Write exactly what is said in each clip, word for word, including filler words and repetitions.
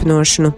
turpynuošonu.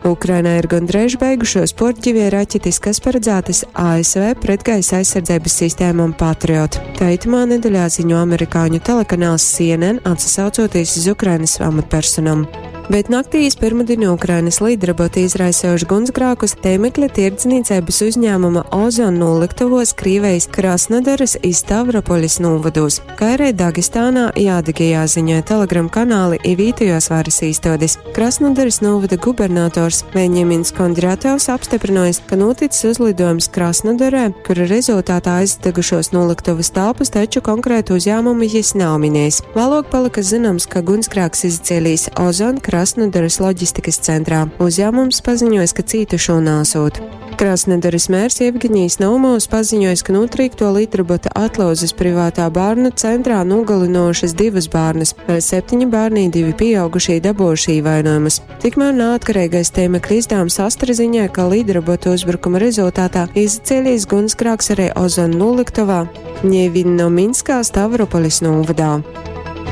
Ukrainā ir gondreiž beigušuos puorģivie raķetis, kas paredzētas A S V pretgaisa aizsardzības sistēmām Patriot. Tā itamā nedeļā ziņo amerikāņu telekanāls C N N, atsasaucoties uz Ukrainas amatpersonām. Bet naktī iz pirmdienu Ukrainas lidroboti izraisejuši gunsgrākus tēmekļa tirdzniecības uzņēmuma Ozon noliktavos Krīvijas Krasnodaras i Stavropoļas novados, kā arī Dagestānā i Adigejā, ziņoja Telegram kanāli i vītejos varas īstodes. Krasnodaras novada gubernators Veņemins Kondrātovs apstiprinājis, ka noticis uzlidojums Krasnodarē, kura rezultātā aizdegušos noliktavas telpas, taču konkrētu uzņēmumu jis nav minējis. Vēlāk palika zināms, ka gunsgrāks izcēlījis Ozon Krasnodaras loģistikas centrā. Uzņēmums paziņojis, ka cītušo nāsot. Krasnodaras mērs Jevgeņijs Naumovs paziņojis, ka notrīkto lidrobota atlozes privātā bērnu centrā nogalinošas divas bērnas, vēl septiņi bērni, divi pieaugušie dabūjuši ievainojumus. Tikmēr neatkarīgais tēmekļa izdevums Astra ziņoja, ka lidrobota uzbrukuma rezultātā izcēlies gunsgrāks arī Ozon noliktavā Ņevinnominskā Stavropolis novadā.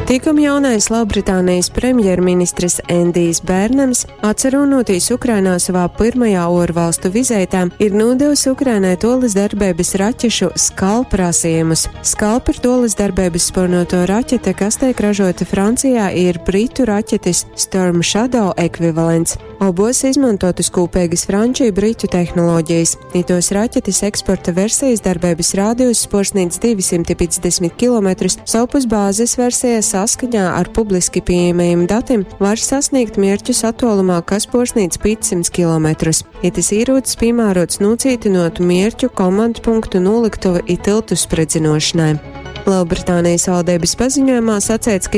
Tikam jaunais Lielbritānijas premjerministrs Endijs Bērnams, atcerunotīs Ukrainā savā pirmajā orvalstu vizītē, ir nodevis Ukrainai tolis darbības raķešu Skalp prasījumus. Skalp ir tolis darbības spornoto raķete, kas tiek ražota Francijā, ir britu raķetes Storm Shadow ekvivalents. Obos izmantotas kopīgas franču i britu tehnoloģijas. Itos raķetes eksporta versijas darbības rādījus porsnīdz divsimt piecdesmit kilometrus, sovpus bāzes versija saskaņā ar publiski pieejamajiem datiem var sasniegt mērķus attālumā, kas porsnīdz piecsimt kilometrus. Itis īrūcis piemērots nocītinotu mērķu komandu punktu noliktuvu i tiltu spredzinošanai. Lielbritānijas valdības paziņojumā sacēts, ka